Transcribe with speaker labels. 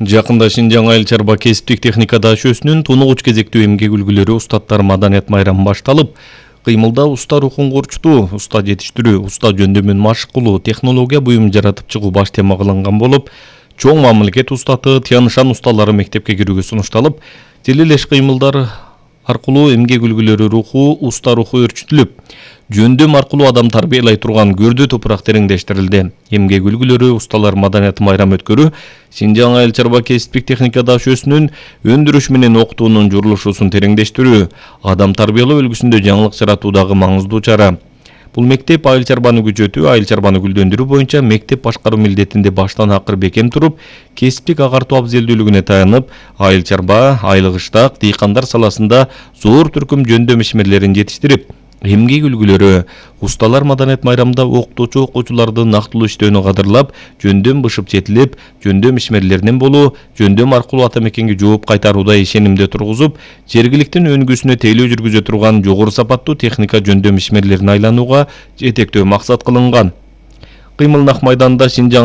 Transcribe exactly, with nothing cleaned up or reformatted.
Speaker 1: Жакында Шинжаң айыл чарба кесиптик техника даашөсүнүн тунугуч кезектүү эмгек үлгүлөрү устаттар маданият майрамы башталып, кыймылда уста рухун курчтуу, уста жетиштирүү, уста жөндөмүн машык кылуу, технология буюм жаратып чыгуу баш тема кылынган болуп, чоң мамлекет устаты Тянышан усталары мектепке кирүүгө сунушталып, тилелеш кыймылдар аркылуу эмгек үлгүлөрү руху, уста руху өрчүтүлүп, жөндөм аркылуу адам тарбиялай турган көрдүү топурак тереңдештирилди. Эмгек үлгүлөрү усталар маданият майрамы өткөрүү Шинжаң айыл чарба кесиптик техника даашөсүнүн өндүрүш менен окутуунун журулушусун тереңдештирүү, адам тарбиялоо үлгүсүндө жаңылык жаратуудагы маңыздуу чара. Бул мектеп айыл чарбаны күчөтүү, айыл чарбаны гүлдөндүрүү боюнча мектеп башкаруу милдетинде баштан акыр бекем туруп, кесиптик агартуу абзелдүүлүгүнө таянып, айыл чарба, айлык ыштак, дыйкандар саласында зор түркүм жөндөм ишмерлерин жетиштирип, эмгек үлгүлөрү усталар маданият майрамында окутуучу окуучуларды нактылуу иштөөнү кадырлап, жөндөм бышып жетилип, жөндөм ишмерлеринен болуу, жөндөм аркылуу ата мекенге жооп кайтарууда ишенимде тургузуп, жергиликтин өнгүсүнө тейлөө жүргүзө турган жогору сапаттуу техника жөндөм ишмерлерин айланууга жетектөө максат кылынган. Кыймыл нак майданында Шинжаң